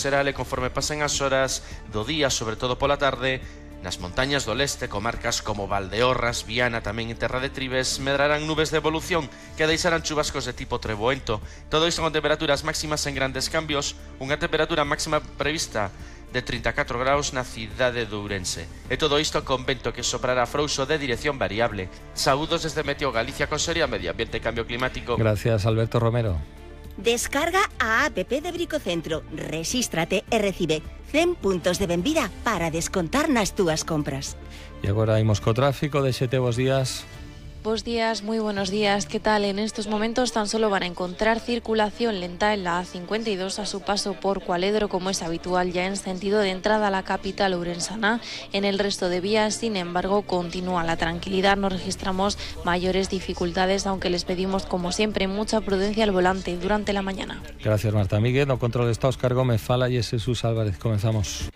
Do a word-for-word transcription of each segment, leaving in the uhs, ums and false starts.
xeral e conforme pasen as horas do día, sobre todo pola tarde, nas montañas do leste, comarcas como Valdeorras, Viana, tamén en Terra de Tribes, medrarán nubes de evolución que deixarán chubascos de tipo treboento. Todo isto con temperaturas máximas en grandes cambios, unha temperatura máxima prevista de trinta e catro graus na cidade de Ourense. E todo isto con vento que soprará frouxo de dirección variable. Saúdos desde Meteo Galicia, Consellería de Medio Ambiente e Cambio Climático. Gracias, Alberto Romero. Descarga a app de Bricocentro, rexístrate e recibe cen puntos de benvida para descontar nas túas compras. E agora imos co tráfico de xete bos días. Buenos días, muy buenos días. ¿Qué tal? En estos momentos tan solo van a encontrar circulación lenta en la A cincuenta y dos a su paso por Cualedro, como es habitual ya en sentido de entrada a la capital ourensana. En el resto de vías, sin embargo, continúa la tranquilidad. No registramos mayores dificultades, aunque les pedimos, como siempre, mucha prudencia al volante durante la mañana. Gracias, Marta Miguel. No control está Óscar Gómez, Fala y es Jesús Álvarez. Comenzamos.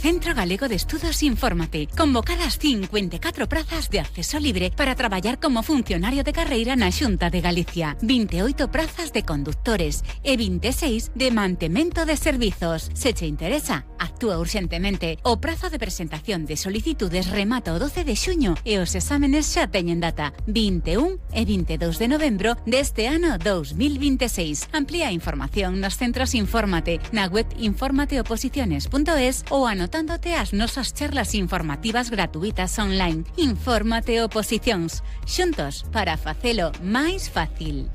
Centro Galego de Estudos Infórmate. Convocadas cincuenta e catro prazas de acceso libre para traballar como funcionario de carreira na Xunta de Galicia. vinte e oito prazas de conductores e vinte e seis de mantemento de servizos. Se che interesa, actúa urxentemente. O prazo de presentación de solicitudes remata o doce de xuño e os exámenes xa teñen data vinte e un e vinte e dous de novembro deste ano dous mil vinte e seis. Amplía a información nos centros Infórmate na web informateoposiciones punto es ou anotando Dándote as nosas charlas informativas gratuitas online. Infórmate Oposicións. Xuntos para facelo máis fácil.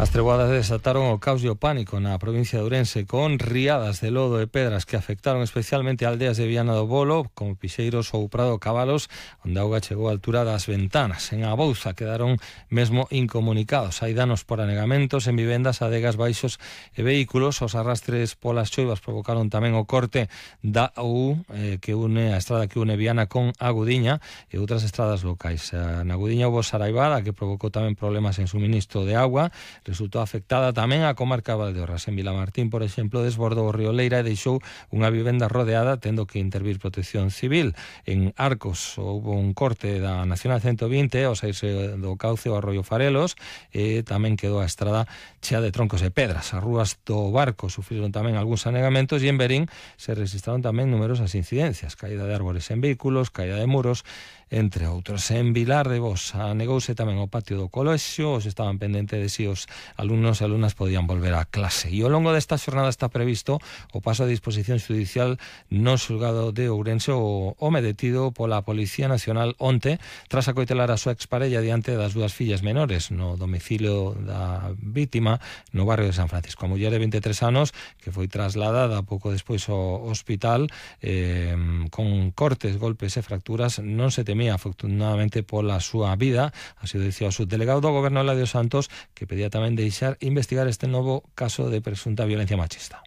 As treboadas desataron o caos e o pánico na provincia de Ourense con riadas de lodo e pedras que afectaron especialmente aldeas de Viana do Bolo, como Pixeiros ou Prado Cabalos, onde a auga chegou á altura das ventanas. En Abouza quedaron mesmo incomunicados. Hai danos por anegamentos en vivendas, adegas, baixos e vehículos. Os arrastres polas choivas provocaron tamén o corte da U eh, que une a estrada que une Viana con Agudiña e outras estradas locais. Na Agudiña houve saraivada que provocou tamén problemas en suministro de agua. Resultou afectada tamén a comarca de Valdeorras. En Vilamartín, por exemplo, desbordou o río Leira e deixou unha vivenda rodeada, tendo que intervir Protección Civil. En Arcos houve un corte da Nacional ciento vinte ao saírse do cauce ao arroio Farelos e tamén quedou a estrada chea de troncos e pedras. As rúas do Barco sufriron tamén algúns anegamentos e en Berín se registraron tamén numerosas incidencias, caída de árbores en vehículos, caída de muros, entre outros. En Vilar de Bos anegouse tamén o patio do colexio, os estaban pendentes de si os alumnos e alumnas podían volver á clase. E ao longo desta xornada está previsto o paso a disposición judicial no xulgado de Ourense o home detido pola Policía Nacional onte tras acoitelar a súa exparella diante das dúas fillas menores no domicilio da vítima no barrio de San Francisco. A muller de vinte e tres anos que foi trasladada pouco despois ao hospital eh, con cortes, golpes e fracturas, non se temía afortunadamente pola súa vida, así o dicía o subdelegado do Goberno Eladio Santos, que pedía tamén deixar investigar este novo caso de presunta violencia machista.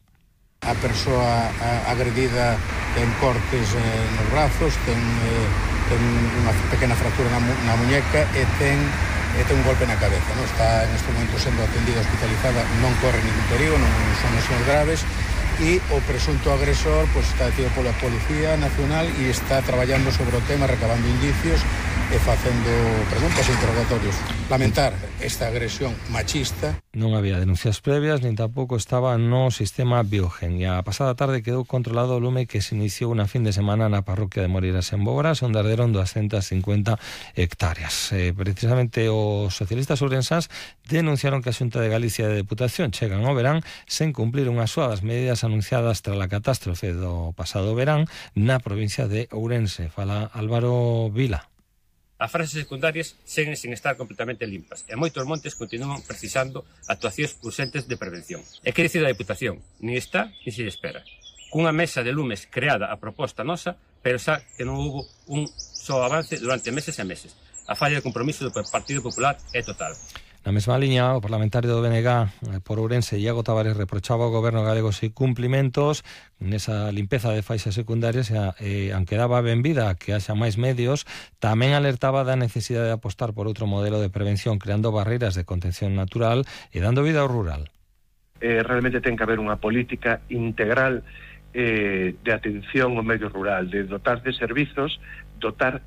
A persoa agredida ten cortes eh, nos brazos, ten, eh, ten unha pequena fractura na, mu na muñeca e ten, e ten un golpe na cabeza. Non? Está en este momento sendo atendida hospitalizada, non corre ningún perigo, non son lesiones graves, e o presunto agresor pues, está detido pola Policía Nacional e está traballando sobre o tema, recabando indicios e facendo preguntas e interrogatorios. Lamentar esta agresión machista. Non había denuncias previas, nin tampouco estaba no sistema Biogen. E a pasada tarde quedou controlado o lume que se iniciou unha fin de semana na parroquia de Moreiras en Bogoras, onde arderon doscientas cincuenta hectáreas. Eh, precisamente os socialistas ourensás denunciaron que a Xunta de Galicia de Deputación chegan ao verán sen cumplir unhas súa das medidas anunciadas tras a catástrofe do pasado verán na provincia de Ourense. Fala Álvaro Vila. As frases secundarias seguen sin estar completamente limpas e moitos montes continúan precisando actuacións urxentes de prevención. E que dicir da Deputación? Ni está, ni se espera. Cunha mesa de lumes creada a proposta nosa, pero xa que non houve un só avance durante meses e meses. A falla de compromiso do Partido Popular é total. Na mesma liña, o parlamentario do B N G por Ourense, Iago Tavares, reprochaba ao goberno galego os incumplimentos nesa limpeza de faixas secundarias e, aunque daba benvida a que haxa máis medios, tamén alertaba da necesidade de apostar por outro modelo de prevención, creando barreiras de contención natural e dando vida ao rural. Eh, realmente ten que haber unha política integral eh, de atención ao medio rural, de dotar de servizos, dotar